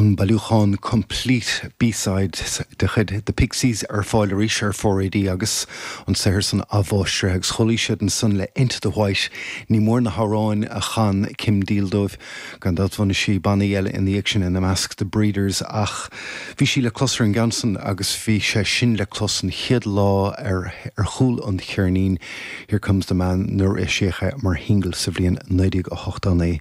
An bailiúchán Complete B-Sides de chuid The Pixies ar fáil arís ar 4AD agus an saothar san athmháistrithe agus chuala siad ansan le Into the White. Ní mór na hamhráin a chan Kim Deal dóibh. Gan dabht bhunaigh sí bannaí eile ina dhiaidh sin, ina measc The Breeders, ach bhí sí le clos ar an gceann san agus bhí sé sin le clos an chéad lá ar ar chúl an cheirnín Here Comes the Man nuair a eisíodh é mar shingil sa bhliain 1989.